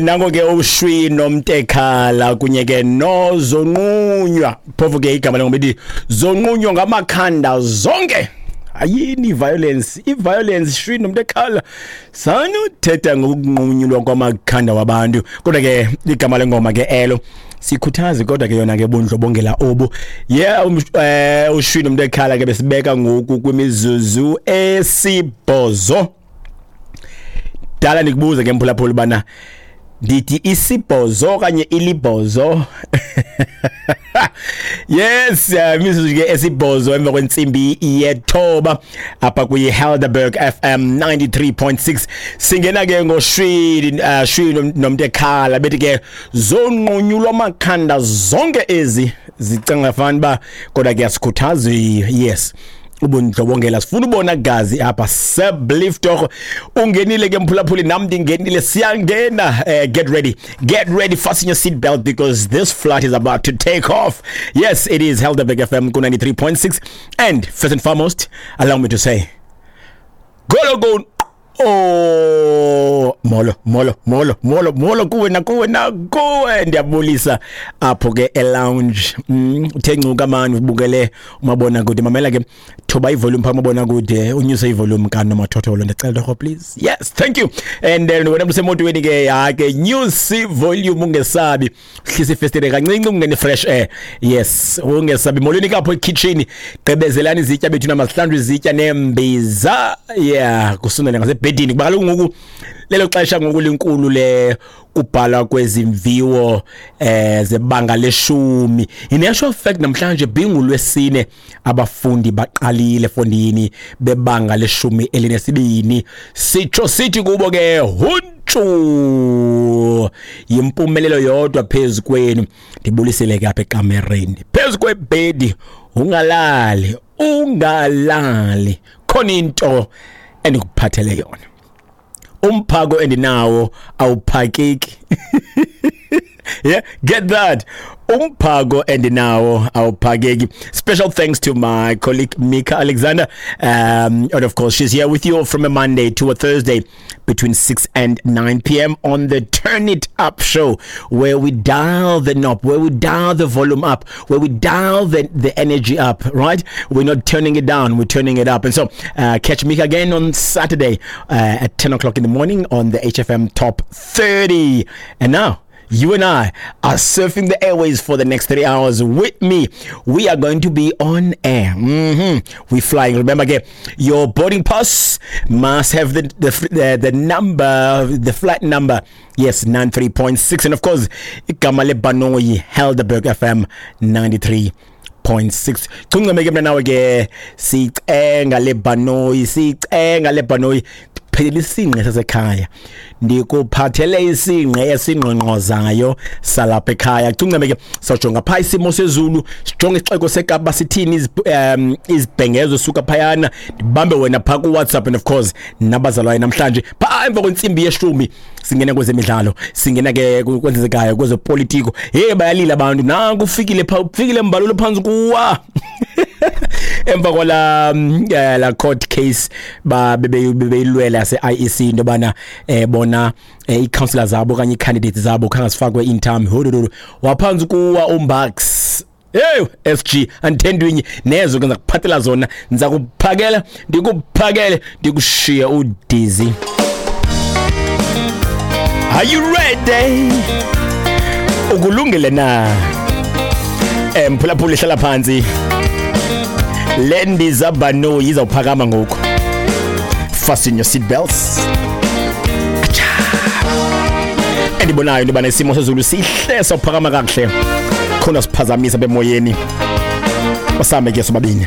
Nango ke uShwi noMtekhala kunye ke nozonqunywa, phofu ke igama lengoma ithi zonqunywa ngamakhanda zonke. Ayini violence, i-violence Shwi noMtekhala, sanuthetha ngokunqunyulwa kwamakhanda wabantu, kodwa ke igama lengoma ke elo sikhuthazi, kodwa ke yona ke bundlobongela obu. Yeah, uShwi noMtekhala ke besibeka ngoku kwimizuzu 8. Dala ndikubuze ke mphulaphula bana ndithi 8 okanye 8. Yes, imizuzu ke 8 emva kwentsimbi 9 apha kwi-Helderberg FM 93.6. Singena ke ngoShwi Shwi noMtekhala bethi ke zonqunyulwa amakhanda zonke ezi zicinga fana ba, kodwa ke asikhuthazi, yes, ubundlobongela, sifuna ubona gazi apha. Sebliftorho ungenile ke mphulaphuli, nam ndingenile, siyangena. Get ready, get ready, fasten your seat belt because this flight is about to take off. Yes, it is Helderberg FM ku 93.6, and first and foremost, allow me to say golo go. Oh, molo molo molo molo molo kuwe nakuwe nakuwe, ndiyabulisa apho ke e-lounge. Uthe ncuka mani ubukele umabona kude, mamela ke, thoba ivolume phaa umabona kude, unyuse ivolume kanomathotholo, ndicela torho, please. Yes, thank you. And then wena usemotweni ke, ya ke, nyuse ivolume, ungesabi, hlisa ifestile kancinci ungene fresh air. Yes, ungesabi. Molweni kapho ekitchen, gqibezelani izitya bethu, namahlanjwe izitya nembiza. Yeah, kusondele ngasebhedini kuba kaloku ngoku lelo xesha ngoku linkulu le kubhalwa kwezimviwo zebanga 10. In actual fact, namhlanje bingulwesine, abafundi baqalile fondini bebanga 12. Sitsho sithi kubo ke huntshu, yimpumelelo yodwa phezu kwenu. Ndibulisele ke apha ekamereni phezu kwebhedi, ungalali ungalali, khona into endikuphathele yona. Umphako endinawo awuphakeki. Yeah, get that, umphako endinawo awuphakeki. Special thanks to my colleague Mika Alexander, and of course she's here with you from a Monday to a Thursday between 6 and 9 p.m. on the Turn It Up show, where we dial the knob, where we dial the volume up, where we dial the energy up, right? We're not turning it down, we're turning it up. And so catch Mika again on Saturday at 10 o'clock in the morning on the HFM Top 30. And now you and I are surfing the airways for the next 3 hours with me. We are going to be on air. We're flying. Remember, again, your boarding pass must have the number, the flight number. Yes, 93.6. And of course, igama lebhanoyi, Helderberg FM 93. 0.6. Cungceme ke mna nawe ke, sicenga lebhanoyi, sicenga lebhanoyi, phelile isingqi sasekhaya, ndikuphathele isingqi esingqongqozayo salapha ekhaya. Cungceme ke, sawujonga phaa isimo sezulu, sijonge isixeko seKapa sithini, izibhengezo suka phayana, ndibambe wena phaa kuWhatsApp and of course nabazalwane namhlanje phaa emva kwentsimbi 10. Singena kwezemidlalo, singena ke kwenzekayo kwezopolitiko. Hey, bayalila abantu, nanku ufikile phaa, ufikile mbalulo phantsi kuwa emva kwala la court case ba bebeyilwela se-IEC into yobana bona ii-councillor zabo okanye ii-candidates zabo khange zifakwe in time. Hododoro, waphantsi kuwa uMbax. Hey SG, andithendwinye nezo ke, ndizakuphathela zona, ndiza kuphakela, ndikuphakele, ndikushiye udizi. Are you ready? Ukulungele na? Mphulaphula, ihlala phansi, le ndiza bhanoyi izawuphakama ngoku. Fasten your seat belts. Acha. Endibonayo into yobana isimo sezulu sihle, sawuphakama kakuhle, khona siphazamisa bemoyeni, basambe ke sobabini.